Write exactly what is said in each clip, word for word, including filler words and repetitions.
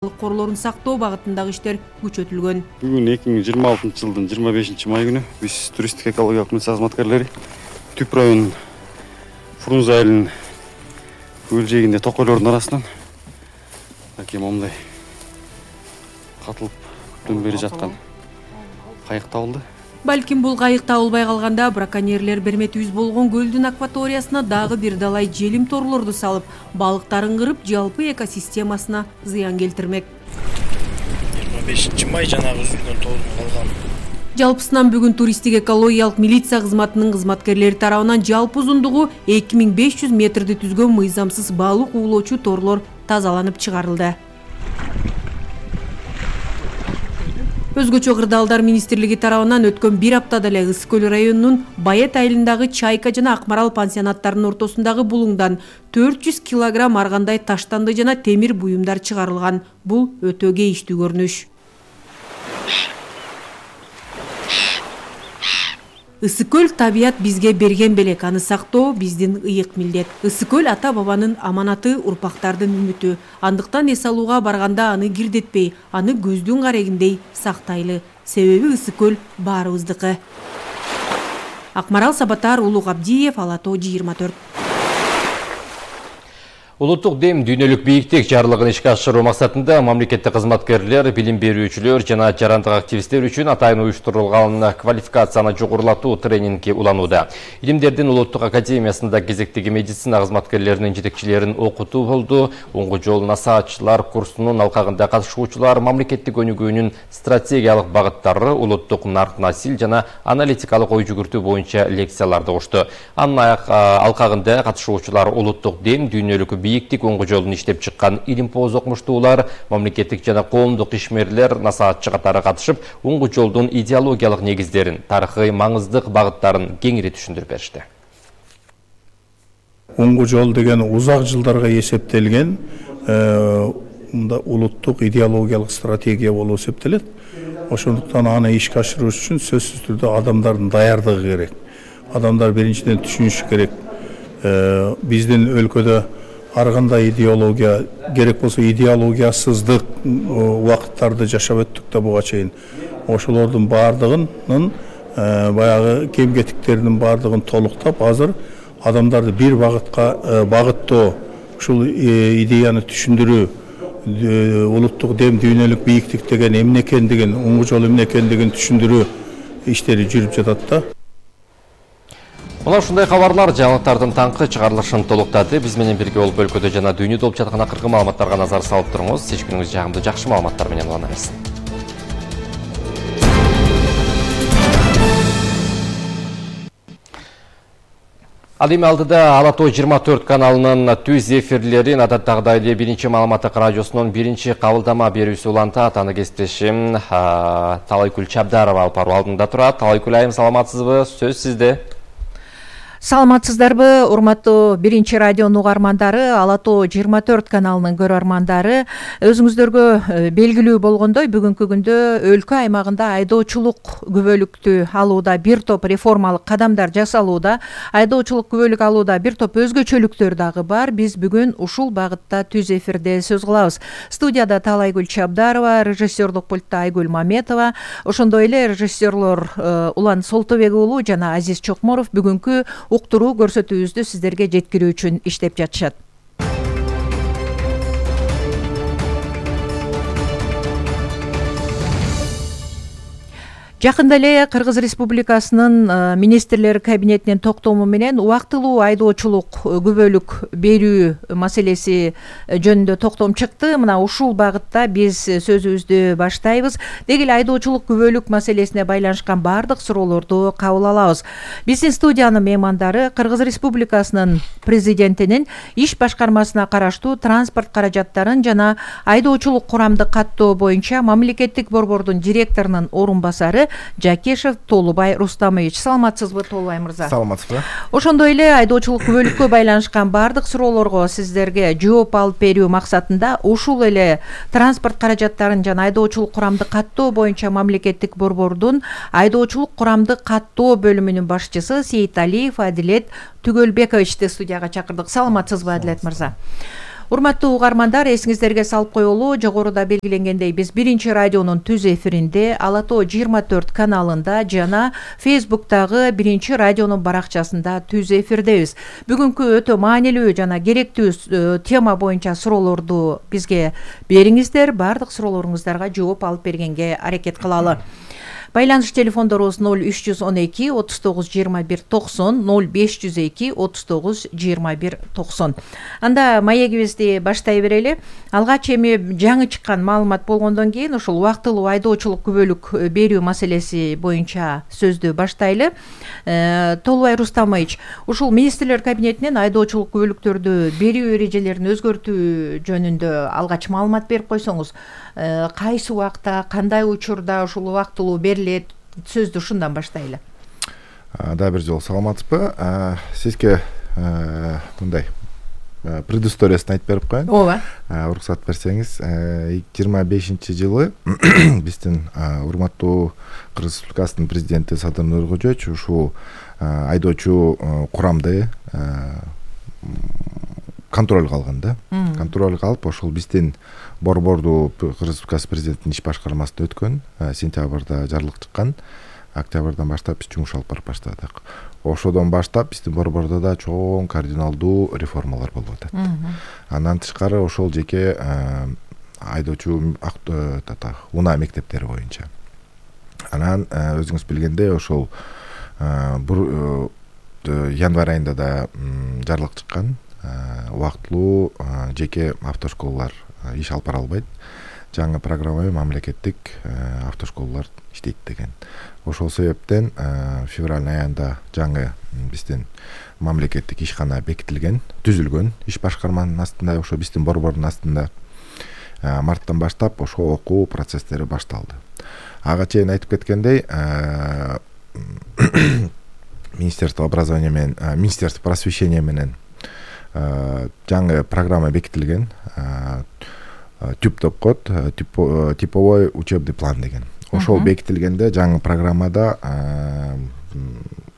Корлорун сактоо багытындагы иштер күчөтүлгөн. Бүгүн эки миң жыйырма алтынчы жылдын жыйырма бешинчи май күнү биз туристтик экологиялык милиция кызматкерлери Түп районунун Фрунзе айылынын көл жээгинде токойлордун арасынан аке момундай катылып күптөн бери жаткан кайык табылды. Балким бул кайык табылбай калганда браконьерлер берметибиз болгон көлдүн акваториясына дагы бир далай желим торлорду салып, балыктарын кырып, жалпы экосистемасына зыян келтирмек. жыйырма бешинчи май жанагы үзүлгөн тоодун калган. Жалпысынан бүгүн туристтик экологиялык милиция кызматынын кызматкерлери тарабынан жалпы узундугу эки миң беш жүз метрди түзгөн мыйзамсыз балык уулоочу торлор тазаланып чыгарылды. Өзгөчө кырдаалдар министрлиги тарабынан өткөн бир аптада эле Ысык көл районунун Байет айылындагы Чайка жана Акмарал пансионаттарынын ортосундагы булуңдан төрт жүз килограмм аргандай таштанды жана темир буюмдар чыгарылган. Бул өтө кейиштүү көрүнүш. Ысык көл табият бизге берген белек, аны сактоо биздин ыйык милдет. Ысык көл ата бабанын аманаты, урпактардын үмүтү. Андыктан эс алууга барганда аны кирдетпей, аны көздүн карегиндей сактайлы. Себеби Ысык көл баарыбыздыкы. Акмарал Сабатар, Улук Абдиев, Ала тоо жыйырма төрт. Улуттук дем дүйнөлүк бийиктик жарлыгын ишке ашыруу максатында мамлекеттик кызматкерлер, билим берүүчүлөр жана жарандык активисттер үчүн атайын уюштурулган квалификацияны жогорулатуу тренингге уланууда. Илимдердин улуттук академиясында кезектеги медицина кызматкерлеринин жетекчилерин окутуу болду. Оңгу жол насаатчылар курсунун алкагында катышуучулар мамлекеттик өнүгүүнүн стратегиялык багыттары, улуттук нарк насил жана аналитикалык ой жүгүртүү боюнча лекцияларды укту. Анын алкагында катышуучулар улуттук дем дүйнөлүк бийиктик оңгу жолун иштеп чыккан илимпоз окумуштуулар, мамлекеттик жана коомдук ишмерлер, насаатчы катары катышып, оңгу жолдун идеологиялык негиздерин, тарыхый маңыздык багыттарын кеңири түшүндүрүп беришти. Оңгу жол деген узак жылдарга эсептелген мында улуттук идеологиялык стратегия болуп эсептелет. Ошондуктан аны ишке ашыруу үчүн сөзсүз түрдө адамдардын даярдыгы керек. Адамдар биринчиден түшүнүшү керек. Биздин өлкөдө ар кандай идеология керек болсо идеологиясыздык убакыттарды жашап өттүк да буга чейин. Ошолордун баардыгынын баягы кем кетиктеринин баардыгын толуктап, азыр адамдарды бир багытка багыттоо, ушул идеяны түшүндүрүү, улуттук дем дүйнөлүк бийиктик деген эмне экендигин, оңгу жол эмне экендигин түшүндүрүү иштери жүрүп жатат да. Мына ушундай кабарлар жаңылыктардын таңкы чыгарылышын толуктады. Биз менен бирге болуп өлкөдө жана дүйнөдө болуп жаткан акыркы маалыматтарга назар салып туруңуз. Сиз күнүңүз жагымдуу жакшы маалыматтар менен улана берсин. Ал эми алдыда Ала тоо жыйырма төрт каналынын түз эфирлерин адаттагыдай эле биринчи маалыматтык радиосунун биринчи кабылдама берүүсү улантат. Аны кесиптешим Талайкүл Чабдарова алып баруу алдында турат. Талайкүл айым, саламатсызбы? Сөз сизде. Саламатсыздарбы, урматтуу биринчи радионун угармандары, Ала тоо жыйырма төрт каналынын көрөрмандары. Өзүңүздөргө белгилүү болгондой, бүгүнкү күндө өлкө аймагында айдоочулук күбөлүктү алууда бир топ реформалык кадамдар жасалууда. Айдоочулук күбөлүк алууда бир топ өзгөчөлүктөр дагы бар. Биз бүгүн ушул багытта түз эфирде сөз кылабыз. Студияда Талайкүл Чабдарова, режиссерлук пультта Айгүл Маметова, ошондой эле режиссерлор Улан Солтобек уулу жана Азиз Чокморов бүгүнкү уктуруу көрсөтүүбүздү сиздерге жеткирүү үчүн иштеп жатышат. Жакында эле Кыргыз Республикасынын министрлер кабинетинин токтому менен убактылуу айдоочулук күбөлүк берүү маселеси жөнүндө токтом чыкты. Мына ушул багытта биз сөзүбүздү баштайбыз. Деги эле айдоочулук күбөлүк маселесине байланышкан баардык суроолорду кабыл алабыз. Биздин студиянын меймандары Кыргыз Республикасынын президентинин иш башкармасына караштуу транспорт каражаттарын жана айдоочулук курамды каттоо боюнча мамлекеттик борбордун директорунун орун басары Жакешев Толубай Рустамович. Саламатсызбы, Толубай мырза? Саламатсызбы. Ошондой эле айдоочулук күбөлүккө байланышкан баардык суроолорго сиздерге жооп алып берүү максатында ушул эле транспорт каражаттарын жана айдоочулук курамды каттоо боюнча мамлекеттик борбордун айдоочулук курамды каттоо бөлүмүнүн башчысы Сейиталиев Адилет Түгөлбековичти студияга чакырдык. Саламатсызбы, Адилет мырза? Урматтуу угармандар, эсиңиздерге салып коелу, жогоруда белгиленгендей биз биринчи радионун түз эфиринде Ала Тоо жыйырма төрт каналында жана Фейсбуктагы биринчи радионун баракчасында түз эфирдебиз. Бүгүнкү өтө маанилүү жана керектүү тема боюнча суроолорду бизге бериңиздер. Бардык суроолоруңуздарга жооп алып бергенге аракет кылалы. Байланыш телефондорубуз ноль үч жүз он эки отуз тогуз жыйырма бир токсон, ноль беш жүз эки отуз тогуз жыйырма бир токсон. Анда маегибизди баштай берели. Алгач эми жаңы чыккан маалымат болгондон кийин ушул убактылуу айдоочулук күбөлүк берүү маселеси боюнча сөздү баштайлы. Э, Толубай Рустамович, ушул министрлер кабинетинен айдоочулук күбөлүктөрдү берүү эрежелерин өзгөртүү жөнүндө алгач маалымат берип койсоңуз, э, кайсы убакта, кандай учурда ушул убактылуу берилет? Сөздү ушундан баштайлы. Да, бир жолу саламатсызбы? Сизге мындай предысториясын айтып берип коеюн. Ооба. Уруксат берсеңиз, жыйырма бешинчи жылы биздин урматтуу Кыргыз Республикасынын президенти Садыр Нуркожоевич ушул айдоочу курамды контролго алган да. Контролго алып, ошол биздин борборду Кыргыз Республикасы президентинин иш башкармасына өткөн, сентябрда жарлык чыккан. Октябрдан баштап биз жумуш алып барып баштадык. Ошодон баштап биздин борбордо да чоң кардиналдуу реформалар болуп атат. Андан тышкары ошол жеке айдоочу унаа мектептери боюнча. Анан өзүңүз билгендей ошол январь айында да жарлык чыккан. Убактылуу жеке автошколалар иш алып бара албайт. Жаңы программамен мамлекеттик автошколалар иштейт деген. Ошол себептен февраль айында жаңы биздин мамлекеттик ишкана бекитилген, түзүлгөн, иш башкарманын астында, ошо биздин борбордун астында. Марттан баштап ошо окуу процесстери башталды. Ага чейин айтып кеткендей, Министерство образования менен, Министерство просвещения менен жаңы программа бекитилген. Тип деп коет, типовой учебный план деген. Ошол бекитилгенде жаңы программада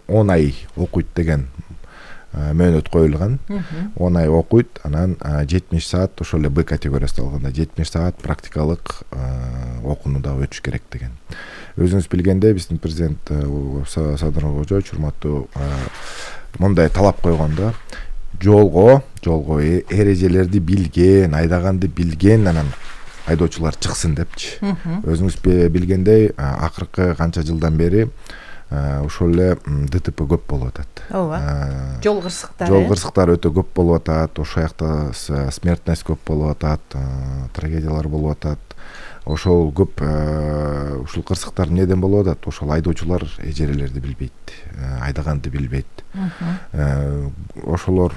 он ай окуйт деген мөөнөт коюлган. он ай окуйт, анан жетимиш саат ошол эле Б категориясына алганда жетимиш саат практикалык окууну да өтүш керек деген. Өзүңүз билгендей, биздин президент Садыр Нуркожоевич урматтуу мындай талап койгон да. Жолго, жолго эрежелерди билген, айдаганды билген анан айдоочулар чыксын депчи. Өзүңүз билгендей, акыркы канча жылдан бери ошол эле ДТП көп болуп атат. Ооба. Жол кырсыктары. Жол кырсыктары өтө көп болуп атат. Ошол жакта смертность көп болуп атат, трагедиялар болуп атат. Ошол көп ушул кырсыктар неден болуп атат? Ошол айдоочулар эжерелерди билбейт, айдаганды билбейт. Ошолор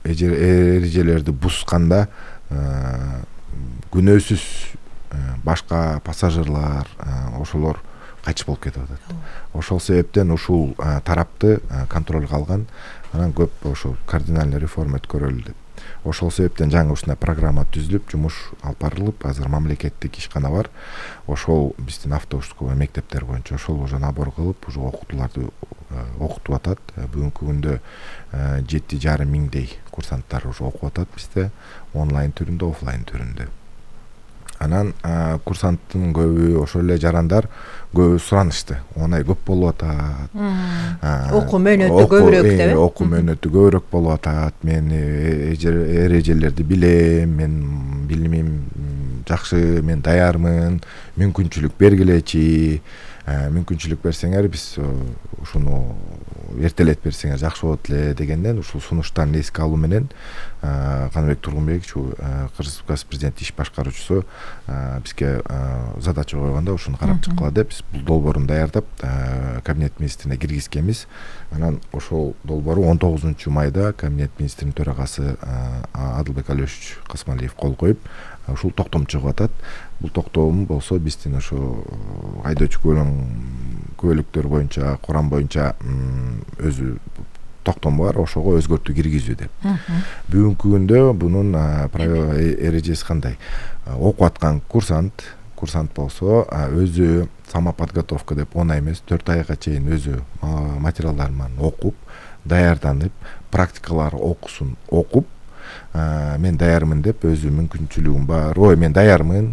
эрежелерди бусканда күнөөсүз башка пассажирлар ошолор кайтыш болуп кетип атат. Ошол себептен ушул тарапты контролго алган, анан көп ошол кардинальный реформа өткөрөлү деп. Ошол себептен жаңы ушундай программа түзүлүп, жумуш алып барылып, азыр мамлекеттик ишкана бар. Ошол биздин автошкола мектептер боюнча ошол уже набор кылып, уже окутууларды окутуп атат. Бүгүнкү күндө жети жарым миңдей курсанттар уже окуп атат бизде, онлайн түрүндө, офлайн түрүндө. Анан курсанттын көбү ошол эле жарандар көбү суранышты. он ай көп болуп атат. Окуу мөөнөтү көбүрөөк деп. Окуу мөөнөтү көбүрөөк болуп атат. Мен эрежелерди билем, мен билимим жакшы, мен даярмын, мүмкүнчүлүк бергилечи. Мүмкүнчүлүк берсеңер, биз ушуну эртелетип берсеңер жакшы болот эле дегенден ушул сунуштарды эске алуу менен Каныбек Тургунбекович, Кыргыз Республикасы президенти иш башкаруучусу бизге задача койгондо ушуну карап чыккыла деп биз бул долбоорун даярдап кабинет министрине киргизгенбиз. Анан ошол долбоору он тогузунчу майда кабинет министринин төрагасы Адылбек Алиевич Касмалиев кол коюп, ушул токтом чыгып атат. Бул токтом болсо биздин ошо айдоочу күбөлүктөр боюнча, курам боюнча өзү токтом бар, ошого өзгөртүү киргизүү деп. Бүгүнкү күндө бунун эрежеси кандай? Окуп аткан курсант, курсант болсо өзү самоподготовка деп он ай эмес, төрт айга чейин өзү материалдарын окуп, даярданып, практикалар окусун окуп, мен даярмын деп өзү мүмкүнчүлүгүм бар, ой мен даярмын,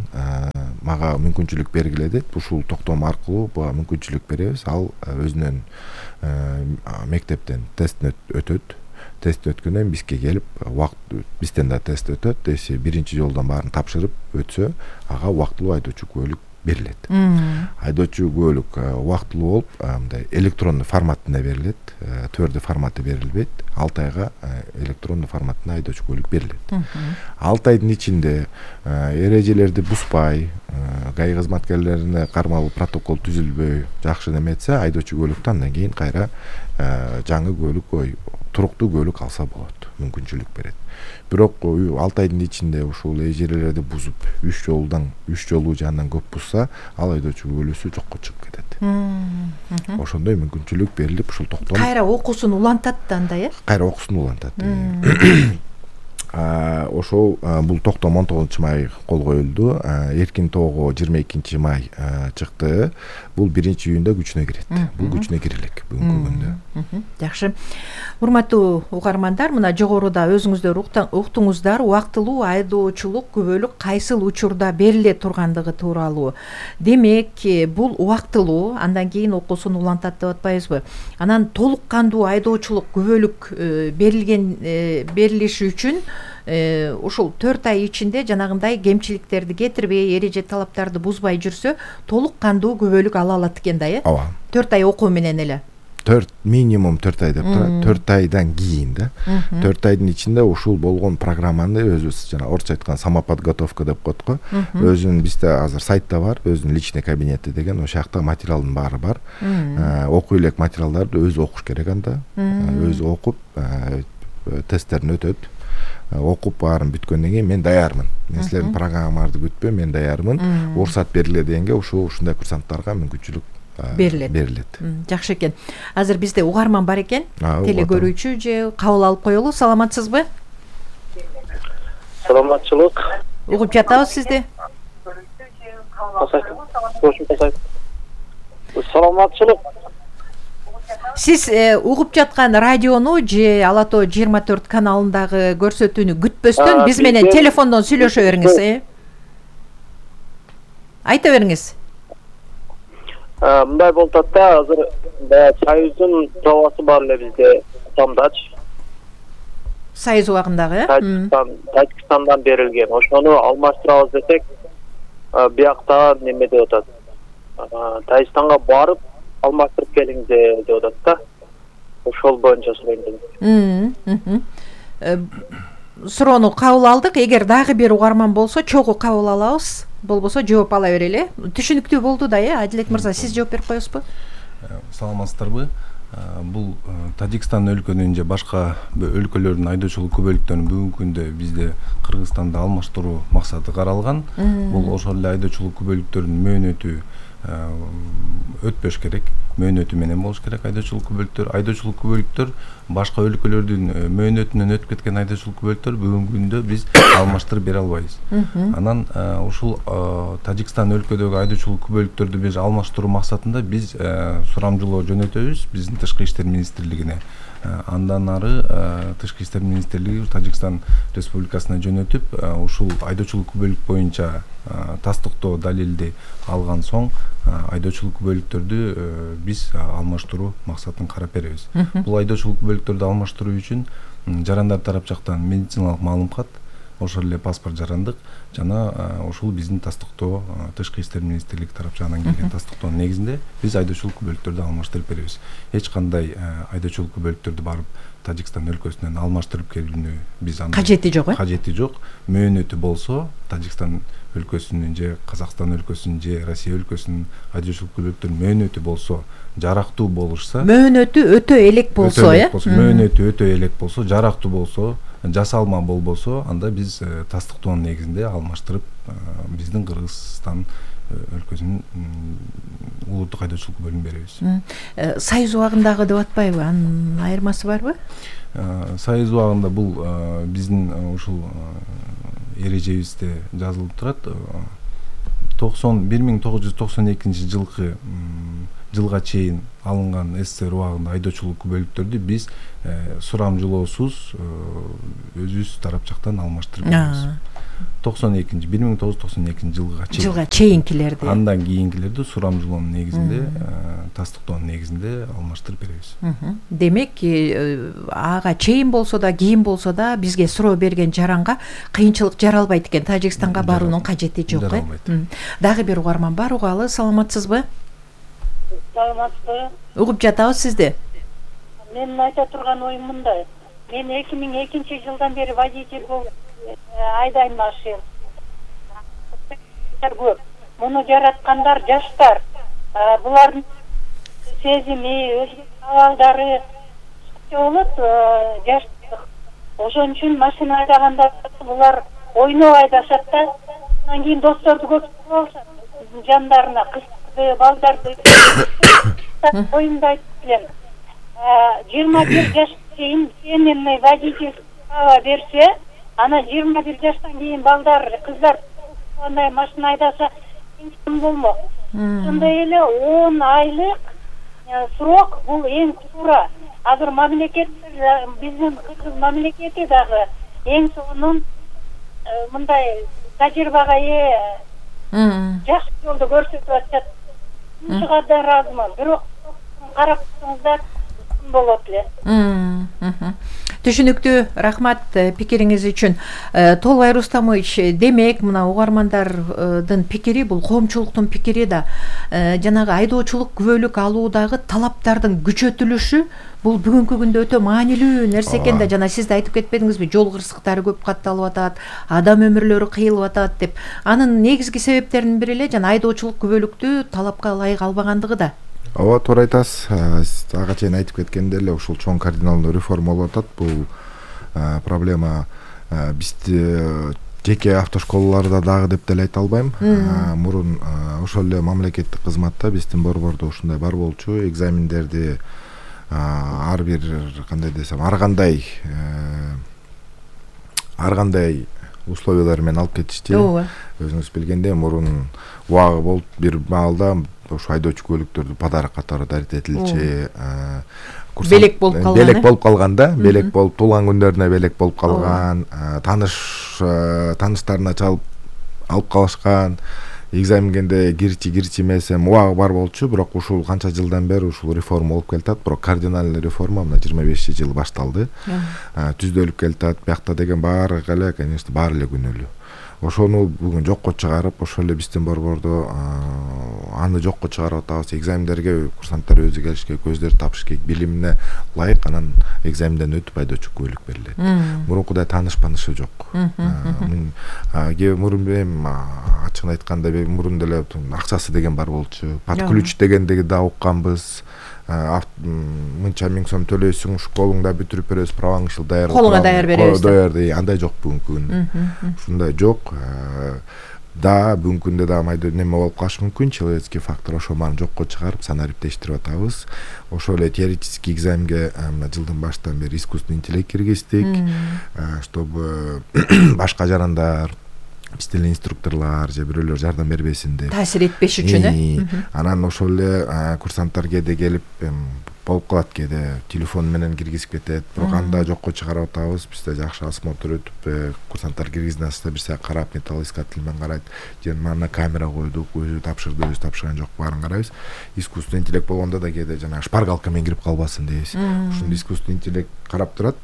мага мүмкүнчүлүк бергиле деп ушул токтом аркылуу буга мүмкүнчүлүк беребиз. Ал өзүнөн мектептен тесттен өтөт. Тест өткөндөн бизге келип, убакыт бизден да тест өтөт. Эси биринчи жолдон баарын тапшырып өтсө, ага убактылуу айдоочу күбөлүк берилет. Айдоочу күбөлүк убактылуу болуп, мындай электрондуу форматында берилет, төрдү форматы берилбейт. алты айга электрондуу форматында айдоочу күбөлүк берилет. алты айдын ичинде эрежелерди бузбай, ГАИ кызматкерлерине кармалуу протокол түзүлбөй, жакшы неметсе, айдоочу күбөлүктү андан кийин кайра жаңы күбөлүк, ой, туруктуу күбөлүк алса болот, мүмкүнчүлүк берет. Бирок алты айдын ичинде ушул эрежелерди бузуп, үч жолдан, үч жолу же андан көп бузса, ал айдоочу күбөлүсү жокко чыгып кетет. Ошондой мүмкүнчүлүк берилип, ушул токтом кайра окуусун улантат да анда, э? Кайра окуусун улантат. Ошол бул токтом он тогузунчу май кол коюлду. Эркин тоого жыйырма экинчи май чыкты. Бул биринчи июнда күчүнө кирет. Бул күчүнө кире элек бүгүнкү күндө. Жакшы. Урматтуу угармандар, мына жогоруда өзүңүздөр уктуңуздар, убактылуу айдоочулук күбөлүк кайсыл учурда бериле тургандыгы тууралуу. Демек, бул убактылуу, андан кийин окуусун улантат деп атпайбызбы? Анан толук кандуу айдоочулук күбөлүк берилген берилиши үчүн ушул төрт ай ичинде жанагындай кемчиликтерди кетирбей, эреже талаптарды бузбай жүрсө, толук кандуу күбөлүк ала алат экен да, э? Ооба. төрт ай окуу менен эле. төрт минимум төрт ай деп турат. төрт айдан кийин да. төрт айдын ичинде ушул болгон программаны өзүбүз жана орусча айтканда самоподготовка деп коет го. Өзүнүн бизде азыр сайтта бар, өзүнүн личный кабинети деген, ошол жакта материалдын баары бар. Окуй элек материалдарды өзү окуш керек анда. Өзү окуп, тесттерин өтөт. Окуп баарын бүткөндөн кийин мен даярмын. Мен силердин программаңарды күтпөйм, мен даярмын. Уруксат бериле дегенге ушул ушундай курсанттарга мүмкүнчүлүк берилет. Берилет. Жакшы экен. Азыр бизде угарман бар экен. Теле көрүүчү же кабыл алып коелу. Саламатсызбы? Саламатчылык. Угуп жатабыз сизди. Саламатчылык. Сиз угуп жаткан радиону же Ала Тоо жыйырма төрт каналындагы көрсөтүүнү күтпөстөн биз менен телефондон сүйлөшө бериңиз, э? Айта бериңиз. Мындай болуп атат да, азыр Союздун пробасы бар эле бизде, Самдач. Союз убагындагы, э? Тажикстан, Тажикстандан берилген. Ошону алмаштырабыз десек, биякта неме деп атат. Тажикстанга барып алмаштырып келиңиз деп атат да. Ошол боюнча суройм. Суроону кабыл алдык. Эгер дагы бир угарман болсо, чогуу кабыл алабыз. Болбосо жооп ала берели. Түшүнүктүү болду да, э? Адилет мырза, сиз жооп берип коесузбу? Саламатсыздарбы? Бул Тажикстан өлкөнүн же башка өлкөлөрдүн айдоочулук күбөлүктөрүн бүгүнкү күндө бизде Кыргызстанда алмаштыруу максаты каралган. Бул ошол эле айдоочулук күбөлүктөрүнүн мөөнөтү өтпөш керек, мөөнөтү менен болуш керек айдоочулук күбөлүктөр. Айдоочулук күбөлүктөр башка өлкөлөрдүн мөөнөтүнөн өтүп кеткен айдоочулук күбөлүктөр бүгүнкү күндө биз алмаштырып бере албайбыз. Анан ушул Тажикстан өлкөдөгү айдоочулук күбөлүктөрдү биз алмаштыруу максатында биз сурамжылоо жөнөтөбүз биздин Тышкы иштер министрлигине. Андан ары Тышкы иштер министрлиги Тажикстан Республикасына жөнөтүп, ушул айдоочулук күбөлүк боюнча тастыктоо далилди алган соң айдоочулук күбөлүктөрдү биз алмаштыруу максатын карап беребиз. Бул айдоочулук күбөлүктөрдү алмаштыруу үчүн жарандар тарап жактан медициналык маалымат, ошол эле паспорт жарандык жана ушул биздин тастыктоо Тышкы иштер министрлиги тарап жагынан келген тастыктоонун негизинде биз айдоочулук күбөлүктөрдү алмаштырып беребиз. Эч кандай айдоочулук күбөлүктөрдү барып Тажикстан өлкөсүнөн алмаштырып келүүнү биз анда кажети жок, э? Кажети жок. Мөөнөтү болсо Тажикстан өлкөсүнүн же Казакстан өлкөсүнүн же Россия өлкөсүнүн айдоочулук күбөлүктөрүнүн мөөнөтү болсо, жарактуу болушса, мөөнөтү өтө элек болсо, э? Мөөнөтү өтө элек болсо, жарактуу болсо, жасалма болбосо, анда биз тастыктоонун негизинде алмаштырып биздин Кыргызстан өлкөсүнүн улуттук айдоочулук күбөлүгүн беребиз. Союз убагындагы деп атпайбы? Анын айырмасы барбы? Союз убагында бул биздин ушул эрежебизде жазылып турат. бир миң тогуз жүз токсон экинчи жылкы жылга чейин алынган СССР убагында айдоочулук күбөлүктөрдү биз сурамжылоосуз өзүбүз тарап жактан алмаштырып беребиз. токсон экинчи бир миң тогуз жүз токсон экинчи жылга чейин. Жылга чейинкилерди. Андан кийинкилерди сурамжылоонун негизинде, тастыктоонун негизинде алмаштырып беребиз. Демек, ага чейин болсо да, кийин болсо да бизге суроо берген жаранга кыйынчылык жаралбайт экен. Тажикстанга баруунун кажети жок э. Дагы бир угарман бар, угалы. Саламатсызбы? Саламатсызбы? Угуп жатабыз сизди. Менин айта турган оюм мындай. Мен эки миң экинчи жылдан бери водитель болуп айдайм машина. Көп. Муну жараткандар жаштар. Булардын сезими, өзгө абалдары болот, жаштык. Ошон үчүн машина айдаганда булар ойноп айдашат да. Андан кийин досторду көп болушат. Жандарына кыздарды, балдарды оюмда айтып элем. жыйырма бир жашка чейин сенемный водитель права берсе, ана жыйырма бир жаштан кийин балдар, кыздар андай машина айдаса ким болмок. Ошондой эле он айлык срок бул эң туура. Азыр мамлекет, биздин кыргыз мамлекети дагы эң сонун мындай тажрыйбага ээ жакшы жолду көрсөтүп атышат. Ушуга да ыраазымын. Бирок карап турсаңыздар болот эле. Түшүнүктүү, рахмат пикириңиз үчүн. Толбай Рустамович, демек мына угармандардын пикири бул коомчулуктун пикири да. Жанагы айдоочулук күбөлүк алуудагы талаптардын күчөтүлүшү бул бүгүнкү күндө өтө маанилүү нерсе экен да. Жана сиз да айтып кетпедиңизби, жол кырсыктары көп катталып атат, адам өмүрлөрү кыйылып атат деп. Анын негизги себептеринин бири эле жана айдоочулук күбөлүктү талапка ылайык албагандыгы да. Ооба, туура айтасыз. Ага чейин айтып кеткендей эле ушул чоң кардиналдуу реформа болуп атат. Бул проблема бизде жеке автошколаларда дагы деп деле айта албайм. Мурун ошол эле мамлекеттик кызматта биздин борбордо ушундай бар болчу. Экзамендерди ар бир кандай десем, ар кандай ар кандай условиялар менен алып кетишти. Өзүңүз билгендей, мурун убагы болуп бир маалда ошо айдоочу көлүктөрдү подарок катары дарит этилчи, белек болуп калган. Белек болуп калганда, белек болуп туулган күндөрүнө белек болуп калган, таныш таныштарына чалып алып калышкан. Экзаменге кирчи кирчи эмесем убагы бар болчу, бирок ушул канча жылдан бери ушул реформа болуп келатат. Бирок кардиналдуу реформа мына жыйырма бешинчи жылы башталды. Түздөлүп келатат. Биякта деген баары эле, конечно, баары эле күнөөлүү. Ошону бүгүн жокко чыгарып, ошол эле биздин борбордо аны жокко чыгарып атабыз. Экзамендерге курсанттар өзү келишке, көздөр тапыш керек, билимине ылайык анан экзаменден өтүп айдоочу күбөлүк берилет. Мурункудай таныш панышы жок. Мурун эми ачыгын айтканда мурун деле акчасы деген бар болчу. Подключ дегенди да укканбыз. Мынча миң сом төлөйсүң, школуңда бүтүрүп беребиз, праваң ушул даяр. Колуңа даяр беребиз. Даяр, андай жок бүгүнкү күндө. Ушундай жок. Да, бүгүнкү күндө да майда неме болуп калышы мүмкүн, человеческий фактор, ошол маны жокко чыгарып, санариптештирип атабыз. Ошол эле теоретический экзаменге мына жылдын башынан бери искусственный интеллект киргиздик, чтобы башка жарандар, биздин эле инструкторлор же бирөөлөр жардам бербесин деп. Таасир этпеш үчүн э. Анан ошол эле курсанттар кээде келип болуп калат, кээде телефон менен киргизип кетет. Бирок анда жокко чыгарып атабыз. Бизде жакшы осмотр өтүп, курсанттар киргизген аста бир саат карап, металлоискатель менен карайт. Же мана камера койдук, өзү тапшырды, өзү тапшырган жок, баарын карайбыз. Искусственный интеллект болгондо да кээде жана шпаргалка менен кирип калбасын дейбиз. Ушуну искусственный интеллект карап турат.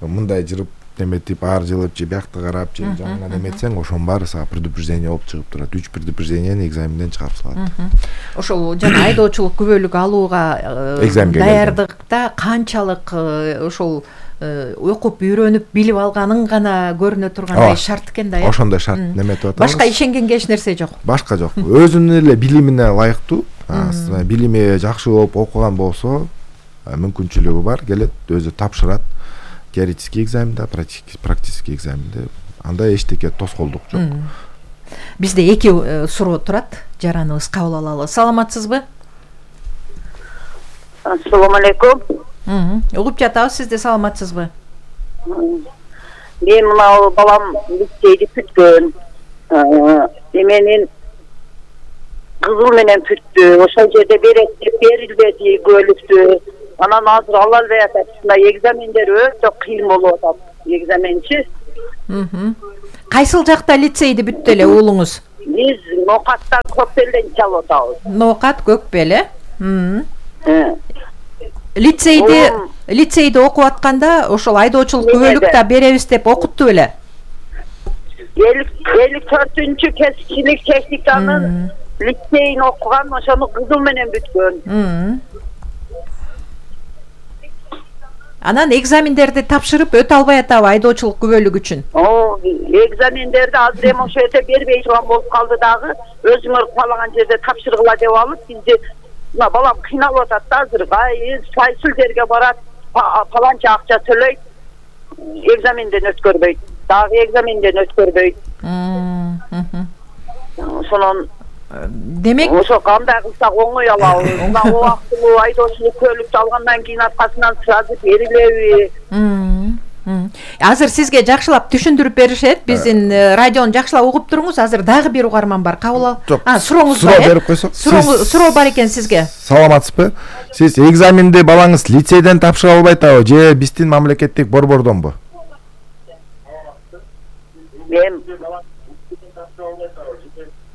Мындай жырып неметип, ар жылып же биякта карап, же жаңынан эметсең, ошонун баары сага предупреждение болуп чыгып турат. Үч предупреждениени экзаменден чыгарып салат. Ошол жана айдоочулук күбөлүк алууга даярдыкта канчалык ошол окуп, үйрөнүп, билип алганың гана көрүнө тургандай шарт экен да. Ошондой шарт неметип атабыз. Башка ишенгенге эч нерсе жок. Башка жок. Өзүнүн эле билимине ылайыктуу, билими жакшы болуп окуган болсо, мүмкүнчүлүгү бар, келет, өзү тапшырат. Теоретический экзаменде, практический экзаменде андай эчтеке тоскоолдук жок. Бизде эки суроо турат, жараныбыз кабыл алалы. Саламатсызбы? Ассаламу алейкум. Угуп жатабыз, сизде саламатсызбы? Мен мына балам лицейди бүткөн. Менин кызыл менен бүттү. Ошол жерде берет деп берилбеди, көлүктү. Анан азыр ала албай атат. Мына экзамендер өтө кыйын болуп атат. Экзаменчи. Кайсыл жакта лицейди бүттү эле уулуңуз? Биз Нокаттан Көкбелден чалып атабыз. Нокат, Көкбел, э? Лицейди лицейди окуп атканда ошол айдоочулук күбөлүк да беребиз деп окутту беле? элүү төртүнчү кесипчилик техниканын лицейин окуган, ошону кызыл менен бүткөн. Анан экзамендерди тапшырып өтө албай атабы айдоочулук күбөлүк үчүн? О, экзамендерди азыр эми ошо өтө бербей турган болуп калды дагы. Өзүңөр каалаган жерде тапшыргыла деп алып, бизди мына балам кыйналып атат да азыр. Кайсыл жерге барат, паланча акча төлөйт, экзаменден өткөрбөйт. Дагы экзаменден өткөрбөйт. Ошонун демек ошо кандай кылсак оңой алабыз. Мына убактылуу айдоочулук көлүктү алгандан кийин аркасынан сразу берилеби? Азыр сизге жакшылап түшүндүрүп беришет. Биздин радиону жакшылап угуп туруңуз. Азыр дагы бир угарман бар. Кабыл ал. А, сурооңуз бар. Суроо берип койсок. Суроо бар экен сизге. Саламатсызбы? Сиз экзаменди балаңыз лицейден тапшыра албай атабы же биздин мамлекеттик борбордонбу? Мен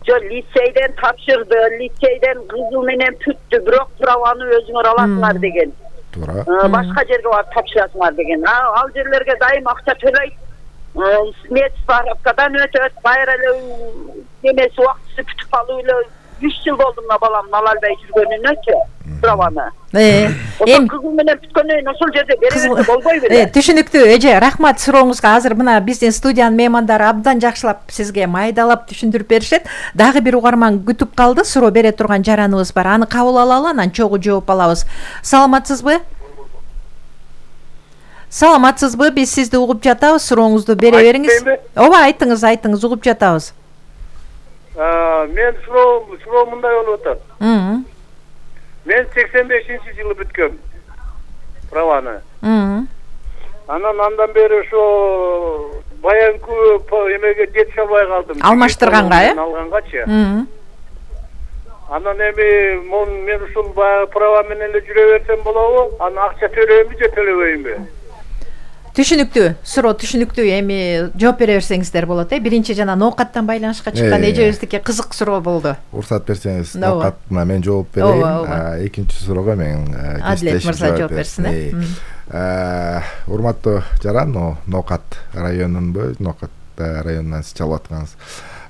жо лицейден тапшырды, лицейден кызыл менен бүттү, бирок праваны өзүңөр аласыңар деген. Туура. Башка жерге барып тапшырасыңар деген. Ал жерлерге дайым акча төлөйт. Смет справкадан өтөт, кайра эле немеси убактысы бүтүп калып эле үч жыл болду мына баламдын ала албай жүргөнүнөчү праваны. Эми кызыл менен бүткөндөн ошол жерде беребиз болбой беле? Түшүнүктүү, эже, рахмат сурооңузга. Азыр мына биздин студиянын меймандары абдан жакшылап сизге майдалап түшүндүрүп беришет. Дагы бир угарман күтүп калды. Суроо бере турган жараныбыз бар. Аны кабыл алалы, анан чогуу жооп алабыз. Саламатсызбы? Саламатсызбы? Биз сизди угуп жатабыз. Сурооңузду бере бериңиз. Ооба, айтыңыз, айтыңыз, угуп жатабыз. Мен суроо суроо мындай болуп атат. Мен сексен бешинчи жылы бүткөм праваны. Анан андан бери ошо баянкы эмеге жетише албай калдым. Алмаштырганга, э? Алгангачы. Анан эми мен ушул баягы права менен эле жүрө берсем болобу? Анан акча төлөймү же төлөбөймүнбү? Түшүнүктүү, суроо түшүнүктүү. Эми жооп бере берсеңиздер болот, э? Биринчи жана Ноокаттан байланышка чыккан эжебиздики кызык суроо болду. Уруксат берсеңиз, Ноокатына мен жооп берейин. Экинчи суроого мен Адилет мырза жооп берсин, э? Урматтуу жаран, Ноокат районунбу, Ноокат районунан сиз чалып аткансыз.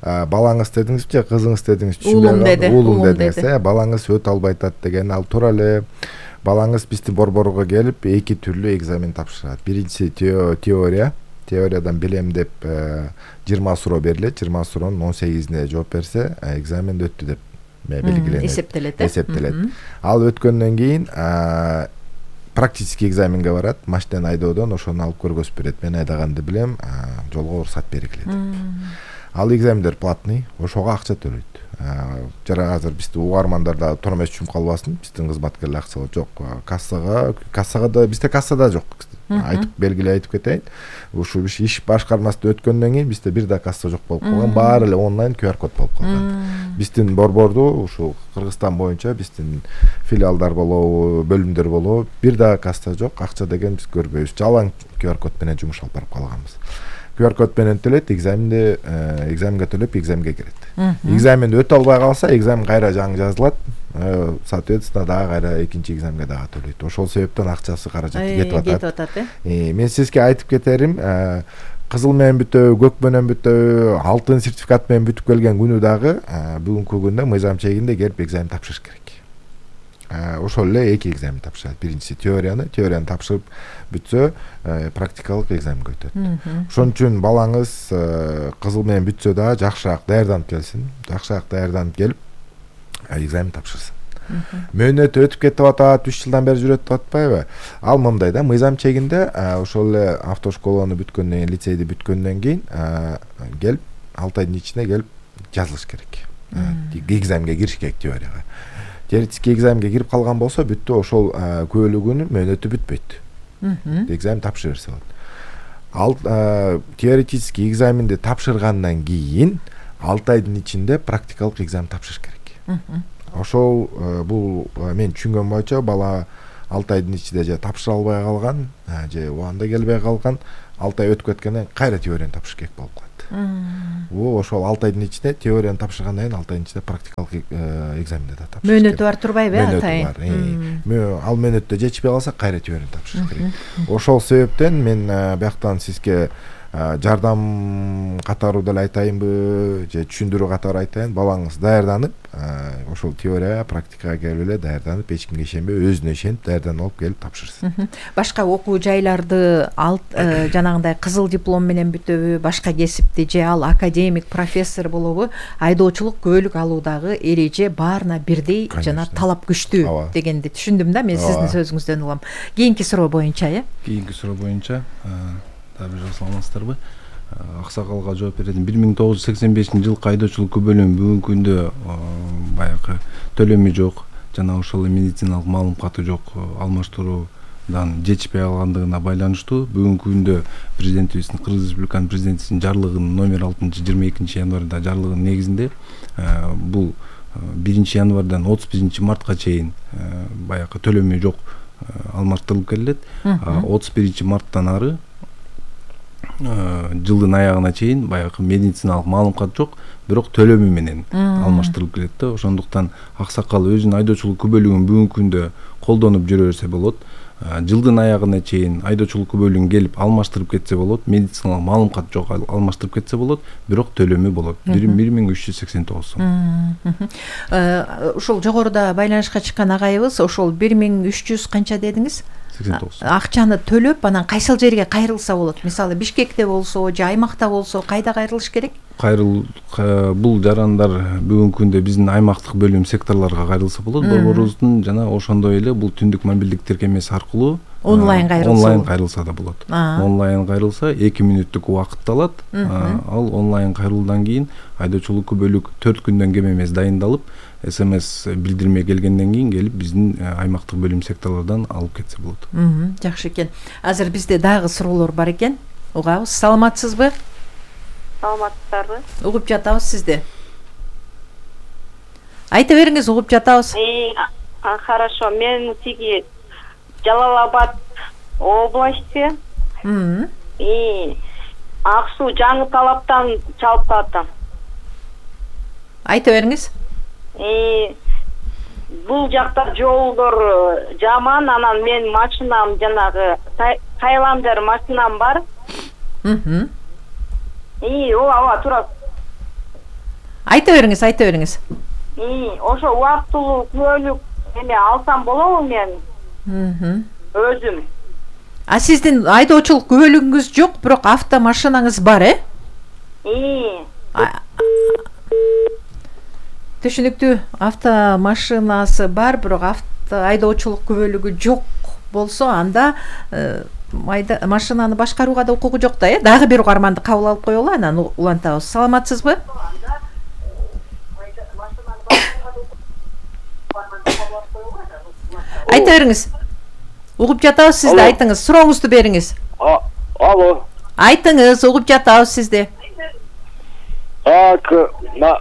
Балаңыз дедиңизби же кызыңыз дедиңизби? Уулум деди. Уулум дедиңиз, э? Балаңыз өтө албай атат деген, ал туура эле. Балаңыз биздин борборго келип эки түрлүү экзамен тапшырат. Биринчиси теория. Теориядан билем деп жыйырма суроо берилет. жыйырма суроонун он сегизине жооп берсе, экзамен өттү деп белгиленет. Эсептелет. Эсептелет. Ал өткөндөн кийин практический экзаменге барат. Машина айдоодон ошону алып көргөзүп берет. Мен айдаганды билем, жолго уруксат бергилет. Ал экзамендер платный, ошого акча төлөйт. Жара азыр биздин угармандарда тормош түшүп калбасын, биздин кызматкерлер акча жок. Кассага, кассага да бизде кассада жок. Айтып белгилей айтып кетейин. Ушул иш башкармасында өткөндөн кийин бизде бир да касса жок болуп калган, баары эле онлайн ку ар код болуп калган. Биздин борборду ушул Кыргызстан боюнча биздин филиалдар болобу, бөлүмдөр болобу, бир да касса жок, акча деген биз көрбөйбүз. Жалаң ку ар код менен жумуш алып барып калганбыз. ку ар код менен төлөйт, экзаменде экзаменге төлөп экзаменге кирет. Экзаменди өтө албай калса, экзамен кайра жаңы жазылат. Соответственно, дагы кайра экинчи экзаменге дагы төлөйт. Ошол себептен акчасы каражаты кетип атат. Мен сизге айтып кетерим, кызыл менен бүтөбү, көк менен бүтөбү, алтын сертификат менен бүтүп келген күнү дагы бүгүнкү күндө мыйзам чегинде келип экзамен тапшырыш керек. Ошол эле эки экзамен тапшырат. Биринчиси теорияны, теорияны тапшырып бүтсө, практикалык экзаменге өтөт. Ошон үчүн балаңыз кызыл менен бүтсө да жакшыраак даярданып келсин, жакшыраак даярданып келип экзамен тапшырсын. Мөөнөтү өтүп кетип атат, үч жылдан бери жүрөт деп атпайбы? Ал мындай да, мыйзам чегинде ошол эле автошколаны бүткөндөн кийин, лицейди бүткөндөн кийин келип алты айдын ичинде келип жазылыш керек. Экзаменге кириш керек теорияга. Теоретический экзаменге кирип калган болсо, бүттү, ошол көөлүгүнүн мөөнөтү бүтпөйт. Экзамен тапшыра берсе болот. Ал теоретический экзаменди тапшыргандан кийин алты айдын ичинде практикалык экзамен тапшырыш керек. Ошол бул мен түшүнгөн боюнча бала алты айдын ичинде же тапшыра албай калган, же убагында келбей калган, алты ай өтүп кеткенден кийин кайра теорияны тапшырыш керек болуп калат. Бул ошол алты айдын ичинде теорияны тапшыргандан кийин алты айдын ичинде практикалык экзаменди да тапшырыш керек. Мөөнөтү бар турбайбы, атай? Мөөнөтү бар. Ал мөөнөттө жетишпей калса кайра теорияны тапшырыш керек. Ошол себептен мен бияктан сизге жардам катары деле айтайынбы, же түшүндүрүү катары айтайын, балаңыз даярданып, ошол теория, практикага келип эле даярданып, эч кимге ишенбей, өзүнө ишенип даярданып алып келип тапшырсын. Башка окуу жайларды алт жанагындай кызыл диплом менен бүтөбү, башка кесипти же ал академик, профессор болобу, айдоочулук күбөлүк алуудагы эреже баарына бирдей жана талап күчтүү дегенди түшүндүм да, мен сиздин сөзүңүздөн угам. Кийинки суроо боюнча, э? Кийинки суроо боюнча табы жасалмастарбы? Аксакалга жооп бередим. бир миң тогуз жүз сексен бешинчи жылкы айдоочулук күбөлүгүнүн бүгүнкү күндө баягы төлөмү жок, жана ошол медициналык маалыматы жок, алмаштыруудан жетишпей калгандыгына байланыштуу бүгүнкү күндө президентибиздин, Кыргыз Республиканын президентисинин жарлыгынын номер алтынчы жыйырма экинчи январда жарлыгынын негизинде бул биринчи январдан отуз биринчи мартка чейин баягы төлөмү жок алмаштырылып келет. отуз биринчи марттан ары жылдын аягына чейин баягы медициналык маалымат жок, бирок төлөмү менен алмаштырылып келет да. Ошондуктан аксакал өзүнүн айдоочулук күбөлүгүн бүгүнкү күндө колдонуп жүрө берсе болот. Жылдын аягына чейин айдоочулук күбөлүгүн келип алмаштырып кетсе болот, медициналык маалымат жок алмаштырып кетсе болот, бирок төлөмү болот. бир миң үч жүз сексен тогуз сом. Ушул жогоруда байланышка чыккан агайыбыз ошол бир миң үч жүз канча дедиңиз? сексен тогуз. Акчаны төлөп, анан кайсыл жерге кайрылса болот? Мисалы Бишкекте болсо, же аймакта болсо, кайда кайрылыш керек? Кайрыл бул жарандар бүгүнкү күндө биздин аймактык бөлүм секторлорго кайрылса болот. Борборубуздун жана ошондой эле бул түндүк мобилдик тиркемеси аркылуу онлайн кайрылса онлайн кайрылса да болот. Онлайн кайрылса эки мүнөттүк убакыт алат. Ал онлайн кайрылуудан кийин айдоочулук күбөлүк төрт күндөн кем эмес дайындалып, смс билдирме келгенден кийин келип биздин аймактык бөлүм секторлордон алып кетсе болот. Жакшы экен. Азыр бизде дагы суроолор бар экен. Угабыз. Саламатсызбы? Саламатсыздарбы? Угуп жатабыз сизди. Айта бериңиз, угуп жатабыз. Хорошо, мен тиги Жалал-Абад области. И Ак Суу Жаңы Талаптан чалып атам. Айта бериңиз. И бул жакта жолдор жаман, анан мен машинам жанагы Тайландер машинам бар. Мм. И ооба тура. Айта бериңиз, айта бериңиз. И ошо убактылуу күбөлүк эме алсам болобу мен? Мм. Өзүм. А сиздин айдоочулук күбөлүгүңүз жок, бирок автомашинаңыз бар, э? И түшүнүктүү, автомашинасы бар, бирок авто айдоочулук күбөлүгү жок болсо, анда машинаны башкарууга да укугу жок да, э? Дагы бир угарманды кабыл алып коелу, анан улантабыз. Саламатсызбы? Айта бериңиз. Угуп жатабыз сизди, айтыңыз. Сурооңузду бериңиз. Алло. Айтыңыз, угуп жатабыз сизди. Так, на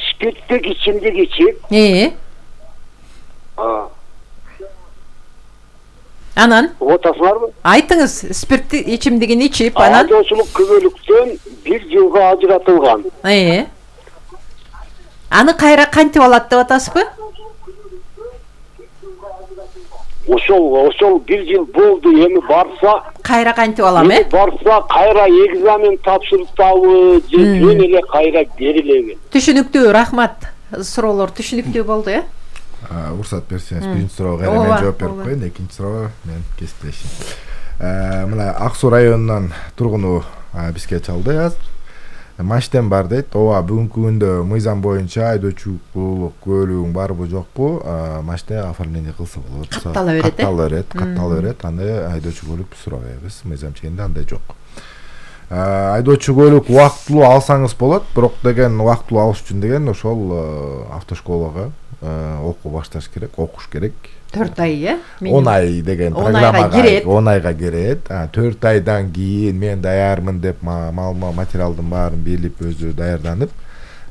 спирттик ичимдик ичип. Э? Анан? Отасыңарбы? Айтыңыз, спирттик ичимдигин ичип, анан? Айдоочулук күбөлүктөн бир жылга ажыратылган. Э? Аны кайра кантип алат деп атасызбы? Ошол, ошол бир жыл болду, эми барса кайра кантип алам, э? Барса кайра экзамен тапшыртабы, же жөн эле кайра берилеби? Түшүнүктүү, рахмат. Суроолор түшүнүктүү болду, э? Уруксат берсеңиз, биринчи суроого кайра мен жооп берип коеюн, экинчи суроого мен кесиптешим. Мына Ак Суу районунан тургуну бизге чалды азыр. Маштем бар дейт. Ооба, бүгүнкү күндө мыйзам боюнча айдоочулук күбөлүгүң барбы жокпу, маште оформление кылса болот. Каттала берет, э? Каттала берет, каттала берет. Анда айдоочу күбөлүк сурабайбыз. Мыйзам чегинде андай жок. Айдоочу күбөлүк убактылуу алсаңыз болот, бирок деген убактылуу алыш үчүн деген ошол автошколага окуу башташ керек, окуш керек. төрт ай, э? он ай деген программага он айга кирет. төрт айдан кийин мен даярмын деп материалдын баарын билип, өзү даярданып,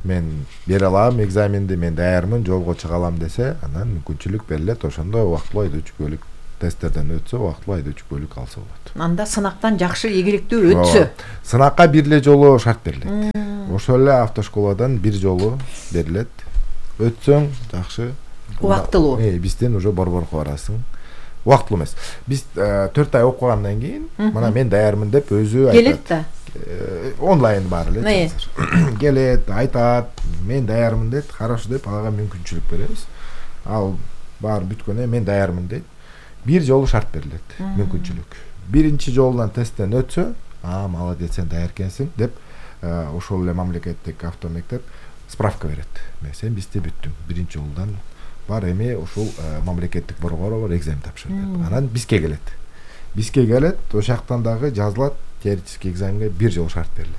мен бере алам экзаменди, мен даярмын, жолго чыга алам десе, анан мүмкүнчүлүк берилет. Ошондо убактылуу айдоочу кубөлүк тесттерден өтсө, убактылуу айдоочу кубөлүк алса болот. Анда сынактан жакшы ийгиликтүү өтсө. Сынакка бир эле жолу шарт берилет. Ошол эле автошколадан бир жолу берилет. Өтсөң жакшы. Убактылуу. Э, бизден уже борборго барасың. Убактылуу эмес. Биз төрт ай окугандан кийин, мына мен даярмын деп өзү айтат. Келет да. Онлайн бар эле. Келет, айтат, мен даярмын дейт, хорошо деп ага мүмкүнчүлүк беребиз. Ал баары бүткөндөн мен даярмын дейт. Бир жолу шарт берилет, мүмкүнчүлүк. Биринчи жолунан тесттен өтсө, а молодец, сен даяр экенсиң деп ошол эле мамлекеттик автомектеп справка берет. Мен сен бизде бүттүң. Биринчи жолунан бар, эми ошол мамлекеттик борборго бар, экзамен тапшыр деп. Анан бизге келет. Бизге келет, ошол жактан дагы жазылат, теоретический экзаменге бир жол шарт берилет.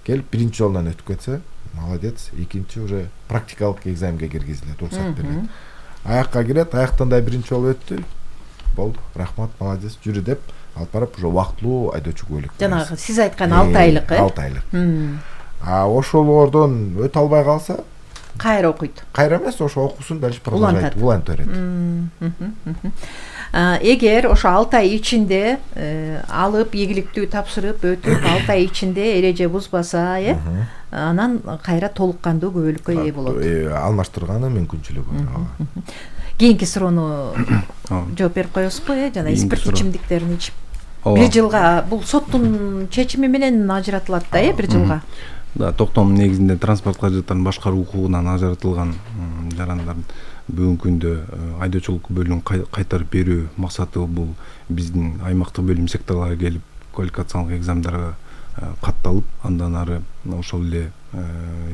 Келип биринчи жолунан өтүп кетсе, молодец, экинчи уже практикалык экзаменге киргизилет, уруксат берилет. Аякка кирет, аяктан да биринчи жолу өттү. Болду, рахмат, молодец, жүрү деп алып барып, уже убактылуу айдоочу кубөлүк. Жанагы сиз айткан алты айлык, э? алты айлык. А ошолордон өтө албай калса, кайра окуйт. Кайра эмес, ошо окуусун дальше продолжать, улантып берет. Эгер ошо алты ай ичинде алып, ийгиликтүү тапшырып, өтүп, алты ай ичинде эреже бузбаса, э, анан кайра толук кандуу күбөлүккө ээ болот. Алмаштырганы мүмкүнчүлүгү бар. Кийинки суроону жооп берип коесузбу, э? Жана спирт ичимдиктерин ичип бир жылга, бул соттун чечими менен ажыратылат да, э, бир жылга. Да, токтом негизинде транспорт каражаттарын башкаруу укугунан ажыратылган жарандардын бүгүнкү күндө айдоочулук күбөлүгүн кайтарып берүү максаты бул биздин аймактык бөлүм секторлорго келип квалификациялык экзамендерге катталып, андан ары ошол эле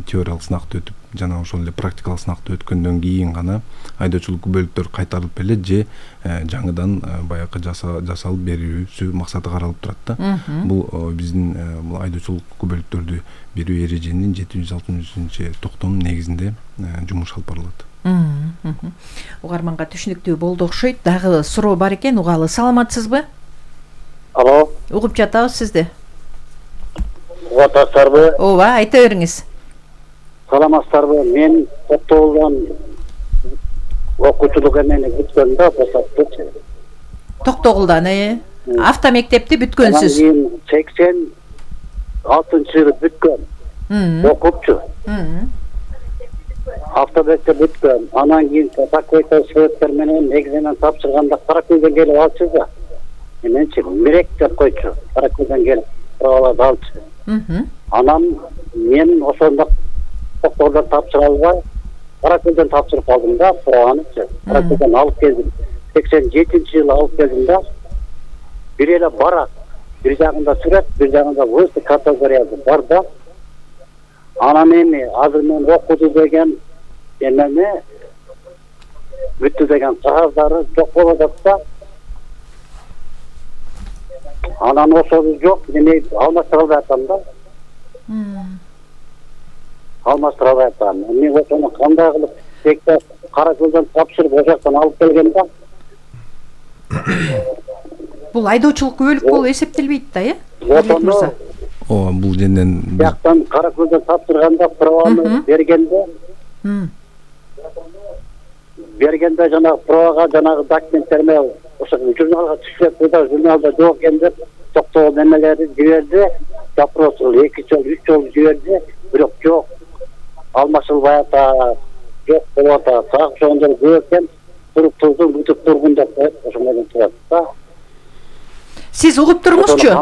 теориялык сынакты өтүп, жана ошол эле практикалык сынакты өткөндөн кийин гана айдоочулук күбөлүктөр кайтарылып берилет же жаңыдан баягы жасалып берүүсү максаты каралып турат да. Бул биздин бул айдоочулук күбөлүктөрдү берүү эреженин жети жүз алтымышынчы токтомунун негизинде жумуш алып барылат. Угарманга түшүнүктүү болду окшойт. Дагы суроо бар экен, угалы. Саламатсызбы? Алло. Угуп жатабыз сизди. Угатасыздарбы? Ооба, айта бериңиз. Саламатсыздарбы? Мен Токтогулдан окуучулук эмени бүткөм да, босаттычы. Токтогулдан, э? Автомектепти бүткөнсүз. Анан сексен алтынчы жылы бүткөм. Окупчу. Автомектеп бүткөм. Анан кийин такойто светтер менен экзамен тапшырганда Каракөлдөн келип алчу да. Менчи мирек деп койчу. Каракөлдөн келип праваларды алчу. Анан мен ошондо Токтогулдан тапшыра албай, Каракөлдөн тапшырып калдым да, праванычы. Каракөлдөн алып келдим. сексен жетинчи жылы алып келдим да. Бир эле барак, бир жагында сүрөт, бир жагында высты категориясы бар да. Анан эми азыр мен окуду деген эмени бүттү деген кагаздары жок болуп атат да. Анан ошол жок, эми алмаштыра албай атам да. Алмаштыра албай атам. Мен ошону кандай кылып текте Каракөлдөн тапшырып, ошоктон алып келген да. Бул айдоочулук күбөлүк болуп эсептелбейт да, э? Ошондо Ооба, бул женден жактан Каракөлдөн тапшырганда праваны бергенде бергенде жанагы правага жанагы документтерме ошо журналга түшүп да, журналда жок экен деп Токтогул немелери жиберди, запрос эки жол, үч жол жиберди, бирок жок. Алмашылбай атат, жок болуп атат. Так ошондор көп экен, туруп турдум, бүтүп тургун деп коет, ошо менен турат да. Сиз угуп туруңузчу.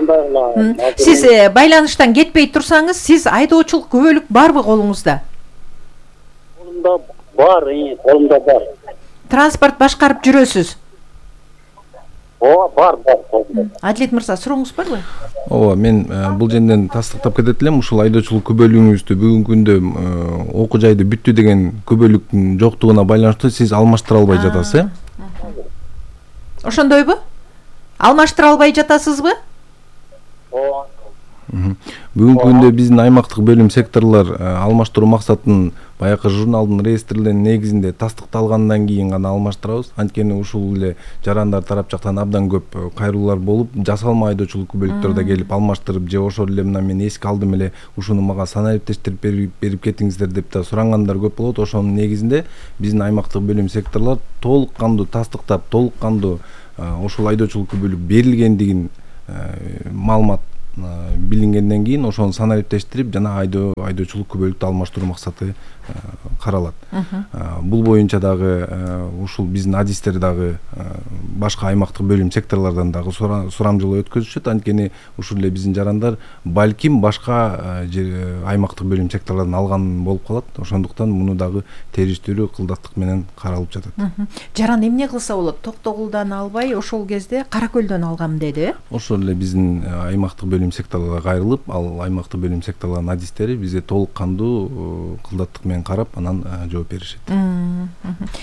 Сиз байланыштан кетпей турсаңыз, сиз айдоочулук күбөлүк барбы колуңузда? Колумда бар, колумда бар. Транспорт башкарып жүрөсүз? Ооба, бар, бар колумда. Адилет мырза, сурооңуз барбы? Ооба, мен бул жерден тастыктап кетет элем. Ушул айдоочулук күбөлүгүңүздү бүгүнкү күндө окуу жайды бүттү деген күбөлүктүн жоктугуна байланыштуу сиз алмаштыра албай жатасыз, э? Ошондойбу? Алмаштыра албай жатасызбы? Ооба. Бүгүнкү күндө биздин аймактык бөлүм секторлор алмаштыруу максатын баягы журналдын реестрлеринин негизинде тастыкталгандан кийин гана алмаштырабыз. Анткени ушул эле жарандар тарап жактан абдан көп кайрылуулар болуп, жасалма айдоочулук күбөлүктөр да келип алмаштырып же ошол эле мына мен эске алдым эле ушуну мага санариптештирип берип кетиңиздер деп да сурангандар көп болот. Ошонун негизинде биздин аймактык бөлүм секторлор толук кандуу тастыктап, толук кандуу ошол айдоочулук күбөлүк берилгендигин маалымат билингенден кийин ошону санариптештирип жана айдоо айдоочулук күбөлүктү алмаштыруу максаты каралат. Бул боюнча дагы ушул биздин адистер дагы башка аймактык бөлүм секторлордон дагы сурамжылоо өткөзүшөт. Анткени ушул эле биздин жарандар балким башка аймактык бөлүм секторлордон алган болуп калат. Ошондуктан муну дагы териштирүү кылдаттык менен каралып жатат. Жаран эмне кылса болот? Токтогулдан албай ошол кезде Кара Көлдөн алгам деди. Ошол эле биздин аймактык бөлүм секторлорго кайрылып, ал аймактык бөлүм секторлордун адистери бизге толук кандуу кылдаттык менен карап, анан жооп беришет.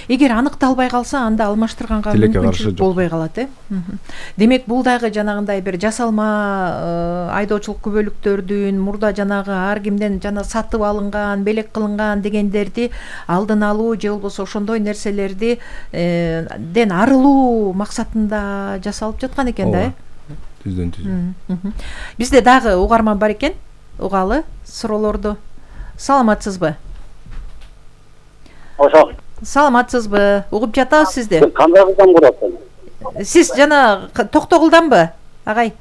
Эгер аныкталбай калса, анда алмаштырганга мүмкүнчүлүк болбой калат, э? Демек, бул дагы жанагындай бир жасалма айдоочулук күбөлүктөрдүн мурда жанагы ар кимден жана сатып алынган, белек кылынган дегендерди алдын алуу же болбосо ошондой нерселерди ден арылуу максатында жасалып жаткан экен да, э? Түздөн түз. Бизде дагы угарман бар экен. Угалы суроолорду. Саламатсызбы? Ошо. Саламатсызбы? Угуп жатабыз сизди. Кандай кылдан көрөсүң? Сиз жана Токтогулданбы, агай?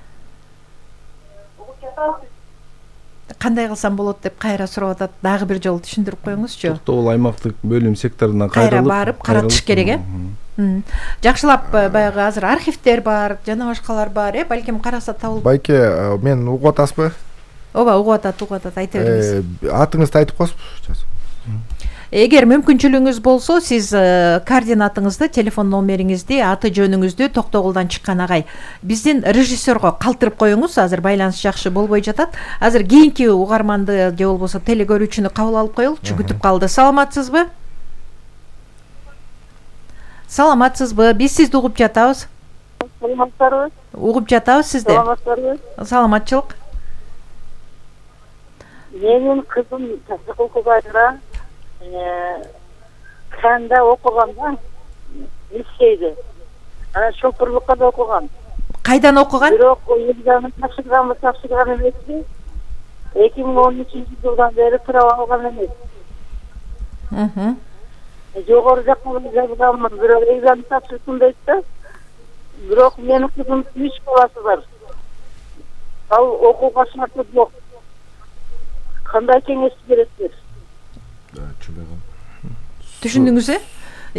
Кандай кылсам болот деп кайра сурап атат. Дагы бир жолу түшүндүрүп коюңузчу. Токтогул аймактык бөлүм секторуна кайрылып, кайра барып каратыш керек, э? Жакшылап баягы азыр архивдер бар, жана башкалар бар, э? Балким караса табылып. Байке, мен угуп атасызбы? Ооба, угуп атат, угуп атат, айта бериңиз. Атыңызды айтып коесузбу? Эгер мүмкүнчүлүгүңүз болсо, сиз координатыңызды, телефон номериңизди, аты жөнүңүздү Токтогулдан чыккан агай биздин режиссерго калтырып коюңуз. Азыр байланыш жакшы болбой жатат. Азыр кийинки угарманды же болбосо телегөрүүчүнү кабыл алып коелучу. Күтүп калды. Саламатсызбы? Саламатсызбы? Биз сизди угуп жатабыз. Саламатсызбы? Угуп жатабыз сизди. Саламатсызбы? Саламатчылык. Менин кызым тасык окуганда канда окуган да, лицейде. Анан шоферлукка да окуган. Кайдан окуган? Бирок экзамен тапшырганбы, тапшырган эмеспи? эки миң он үчүнчү жылдан бери право алган эмес. Мхм. Жогору жакка жазганмын, бирок экзамен тапшырсын дейт да. Бирок менин кызым үч баласы бар. Ал окууга шарты жок. Кандай кеңеш бересиз? Түшүндүңүз, э?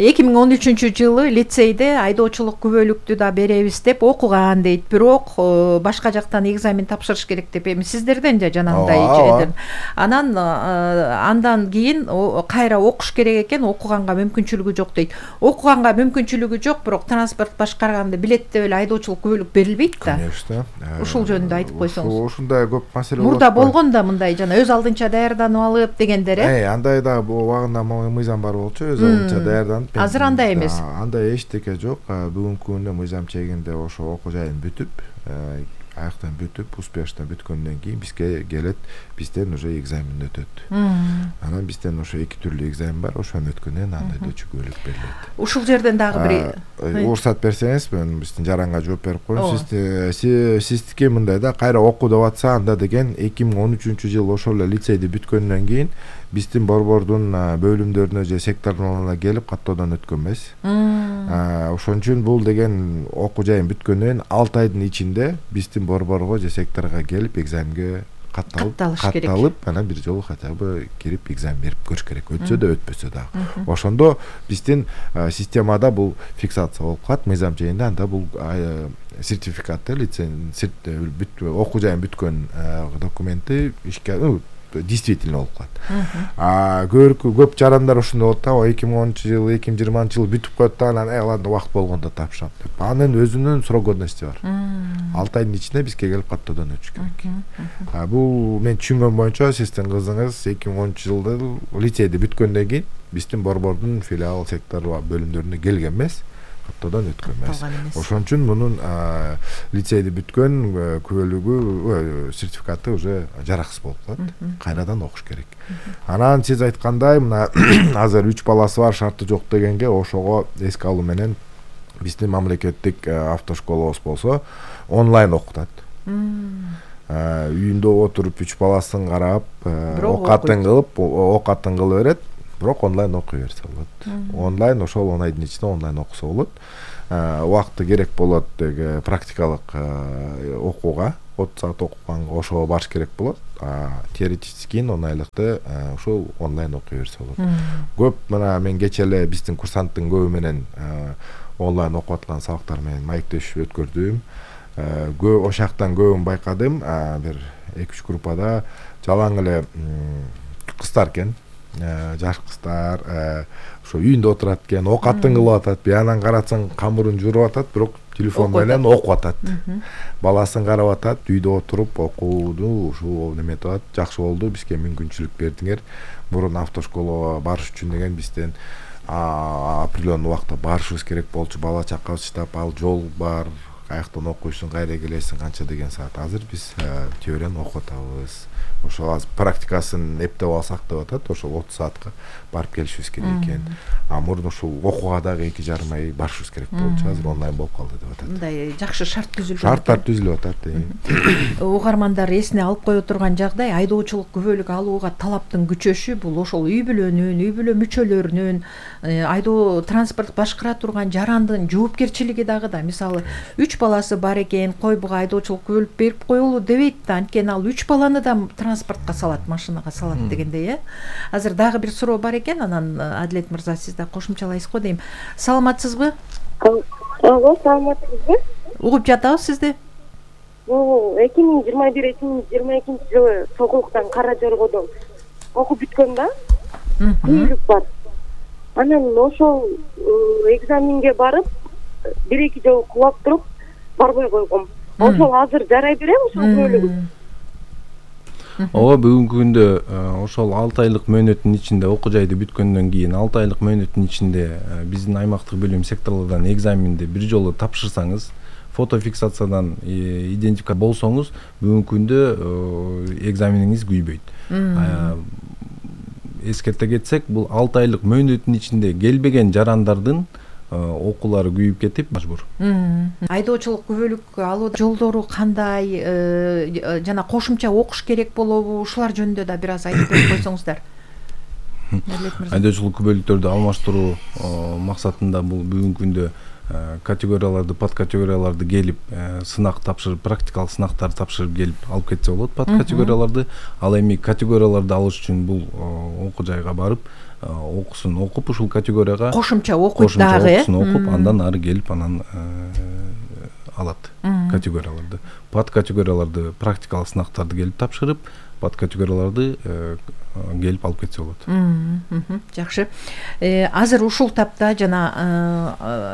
эки миң он үчүнчү жылы лицейде айдоочулук күбөлүктү да беребиз деп окуган дейт. Бирок башка жактан экзамен тапшырыш керек деп эми сиздерден же жанагындай жерден. Анан андан кийин кайра окуш керек экен, окуганга мүмкүнчүлүгү жок дейт. Окуганга мүмкүнчүлүгү жок, бирок транспорт башкарганда билет деп эле айдоочулук күбөлүк берилбейт да. Конечно. Ушул жөнүндө айтып койсоңуз. Ушундай көп маселе болот. Мурда болгон да мындай жана өз алдынча даярданып алып дегендер, э? Э, андай да убагында мыйзам бар болчу, өз алдынча даярданып. Азыр андай эмес. Андай эчтеке жок. Бүгүнкү күндө мыйзам чегинде ошо окуу жайын бүтүп, аяктан бүтүп, успешно бүткөндөн кийин бизге келет, бизден уже экзамен өтөт. Анан бизден ошо эки түрлүү экзамен бар, ошону өткөндөн андай айдоочу күбөлүк берилет. Ушул жерден дагы бир уруксат берсеңиз, мен биздин жаранга жооп берип коеюн. Сиз сиздики мындай да, кайра окуу деп атса, анда деген эки миң он үчүнчү жыл ошол эле лицейди бүткөндөн кийин биздин борбордун бөлүмдөрүнө же секторуна келип каттоодон өткөн эмес. Ошон үчүн бул деген окуу жайын бүткөндөн алты айдын ичинде биздин борборго же секторго келип экзаменге катталып, катталып, анан бир жолу хотя бы кирип экзамен берип көрүш керек. Өтсө да, өтпөсө дагы. Ошондо биздин системада бул фиксация болуп калат, мыйзам жайында, анда бул сертификаты, лицензия, окуу жайын бүткөн документи ишке действительно болуп калат. А көп жарандар ушундай болот да, эки миң онунчу жыл, эки миң жыйырманчы жыл бүтүп коет да, анан аларды убакыт болгондо тапшырам деп. Анын өзүнүн срок годности бар. алты айдын ичинде бизге келип каттоодон өтүш керек. Бул мен түшүнгөн боюнча сиздин кызыңыз эки миң онунчу жылда лицейди бүткөндөн кийин биздин борбордун филиал, сектор бөлүмдөрүнө келген эмес. каттоодон өткөн эмес. Ошон үчүн мунун лицейди бүткөн күбөлүгү сертификаты уже жараксыз болуп калат. Кайрадан окуш керек. Анан сиз айткандай мына азыр үч баласы бар, шарты жок дегенге ошого эске алуу менен биздин мамлекеттик автошколабыз болсо онлайн окутат. Үйүндө отуруп үч баласын карап, окатын кылып, окатын кылып берет, бирок онлайн окуй берсе болот. Онлайн ошол он айдын ичинде онлайн окуса болот. Убакыты керек болот деги практикалык окууга, отуз саат окуганга ошого барыш керек болот. Теоретический он айлыкты ошол онлайн окуй берсе болот. Көп мына мен кече эле биздин курсанттын көбү менен онлайн окуп аткан сабактар менен маектешип өткөрдүм. Көп ошактан көбүн байкадым. Бир эки үч группада жалаң эле кыздар экен. Жаш кыздар ошо үйүндө отурат экен, окатын кылып атат, биянан карасаң камырын жууруп атат, бирок телефон менен окуп атат. Баласын карап атат, үйдө отуруп окууну ушул неметип атат. Жакшы болду, бизге мүмкүнчүлүк бердиңер. Мурун автошколага барыш үчүн деген бизден определенный убакта барышыбыз керек болчу. Бала чакабыз чыдап, ал жол бар, каяктан окуйсуң, кайра келесиң, канча деген саат. Азыр биз теорияны окуп атабыз. Ошол азыр практикасын эптеп алсак деп атат, ошол отуз саатка барып келишибиз керек экен. А мурун ушул окууга дагы эки жарым ай барышыбыз керек болчу, азыр онлайн болуп калды деп атат. Мындай жакшы шарт түзүлгөн. Шарттар түзүлүп атат. Угармандар эсине алып кое турган жагдай, айдоочулук күбөлүк алууга талаптын күчөшү бул ошол үй бүлөнүн, үй бүлө мүчөлөрүнүн, айдоо транспорт башкара турган жарандын жоопкерчилиги дагы да. Мисалы, үч баласы бар экен, кой буга айдоочулук күбөлүк берип коелу дебейт да, анткени ал үч баланы да транспортко салат, машинага салат дегендей, э. Азыр дагы бир суроо бар экен, анан Адилет мырза сиз да кошумчалайсызго дейм. Саламатсызбы? Алло, саламатсызбы? Угуп жатабыз сизди. Бул эки миң жыйырма бир эки миң жыйырма экинчи жылы Сокулуктан Кара Жоргодон окуп бүткөм да. Күбөлүк бар. Анан ошол экзаменге барып, бир эки жолу кулап туруп барбай койгом. Ошол азыр жарай береби ошол күбөлүгү? Ооба, бүгүнкү күндө ошол алты айлык мөөнөттүн ичинде окуу жайды бүткөндөн кийин алты айлык мөөнөттүн ичинде биздин аймактык бөлүм секторлордон экзаменди бир жолу тапшырсаңыз, фотофиксациядан идентификат болсоңуз, бүгүнкү күндө экзамениңиз күйбөйт. Эскерте кетсек, бул алты айлык мөөнөттүн ичинде келбеген жарандардын окуулары күйүп кетип мажбур. Айдоочулук күбөлүк алуу жолдору кандай, жана кошумча окуш керек болобу? Ушулар жөнүндө да бир аз айтып берип койсоңуздар. Айдоочулук күбөлүктөрдү алмаштыруу максатында бул бүгүнкү күндө категорияларды, подкатегорияларды келип сынак тапшырып, практикалык сынактарды тапшырып келип алып кетсе болот подкатегорияларды. Ал эми категорияларды алыш үчүн бул окуу жайга барып окусын окуп, ушул категорияга кошумча окуп дагы, окусын окуп, андан ары келип анан алат категорияларды. Подкатегорияларды, практикалык сынактарды келип тапшырып, подкатегорияларды келип алып кетсе болот. Жакшы. Азыр ушул тапта жана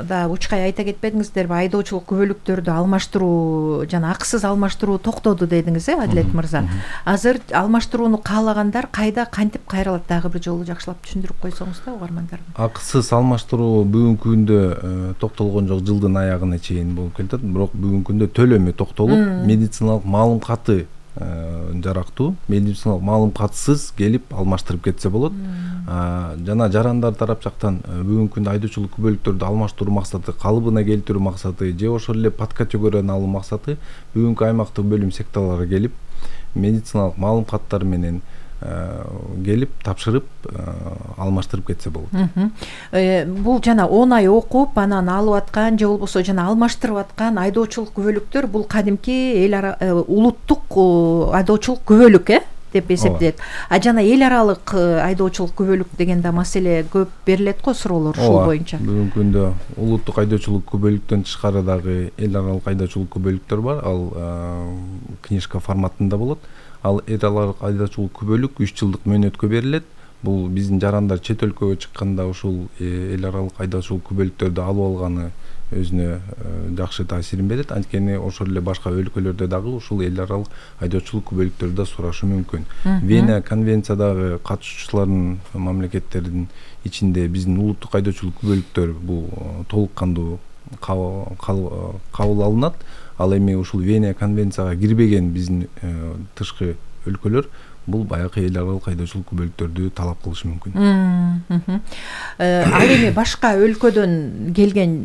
да учкай айта кетпедиңиздерби, айдоочулук күбөлүктөрдү алмаштыруу жана акысыз алмаштыруу токтоду дедиңиз, э, Адилет мырза. Азыр алмаштырууну каалагандар кайда, кантип кайрылат? Дагы бир жолу жакшылап түшүндүрүп койсоңуз да угармандарга. Акысыз алмаштыруу бүгүнкү күндө токтолгон жок, жылдын аягына чейин болуп келатат, бирок бүгүнкү күндө төлөмү токтолуп, медициналык маалымкаты жарактуу, медициналык маалымкатсыз келип алмаштырып кетсе болот. Жана жарандар тарап жактан бүгүнкү күндө айдоочулук күбөлүктөрдү алмаштыруу максаты, калыбына келтирүү максаты же ошол эле подкатегорияны алуу максаты бүгүнкү аймактык бөлүм секторлорго келип медициналык маалымкаттар менен келип тапшырып алмаштырып кетсе болот. Бул жана он ай окуп, анан алып аткан же болбосо жана алмаштырып аткан айдоочулук күбөлүктөр бул кадимки эл ара улуттук айдоочулук күбөлүк, э, деп эсептелет. А жана эл аралык айдоочулук күбөлүк деген да маселе көп берилет го, суроолор ушул боюнча. Бүгүнкү күндө улуттук айдоочулук күбөлүктөн тышкары дагы эл аралык айдоочулук күбөлүктөр бар. Ал книжка форматында болот. Ал эл аралык айдоочулук күбөлүк үч жылдык мөөнөткө берилет. бул биздин жарандар чет өлкөгө чыкканда ушул эл аралык айдоочулук күбөлүктөрдү алып алганы өзүнө жакшы таасирин берет. Анткени ошол эле башка өлкөлөрдө дагы ушул эл аралык айдоочулук күбөлүктөрдү да сурашы мүмкүн. Вена конвенциядагы катышуучулардын мамлекеттердин ичинде биздин улуттук айдоочулук күбөлүктөр бул толук кандуу кабыл алынат. Ал эми ушул Вена конвенцияга кирбеген биздин тышкы өлкөлөр бул баягы эл аралык айдоочулук күбөлүктөрдү талап кылышы мүмкүн. Ал эми башка өлкөдөн келген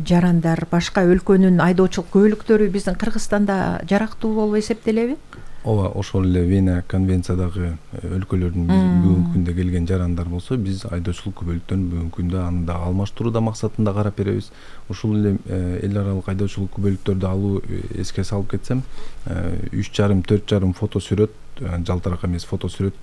жарандар, башка өлкөнүн айдоочулук күбөлүктөрү биздин Кыргызстанда жарактуу болуп эсептелеби? Ооба, ошол эле Вена конвенциядагы өлкөлөрдүн бүгүнкү күндө келген жарандар болсо, биз айдоочулук күбөлүктөрүн бүгүнкү күндө аны да алмаштыруу максатында карап беребиз. Ушул эле эл аралык айдоочулук күбөлүктөрдү алуу эске салып кетсем, үч жарым төрт жарым фото сүрөт, жалтырак эмес фото сүрөт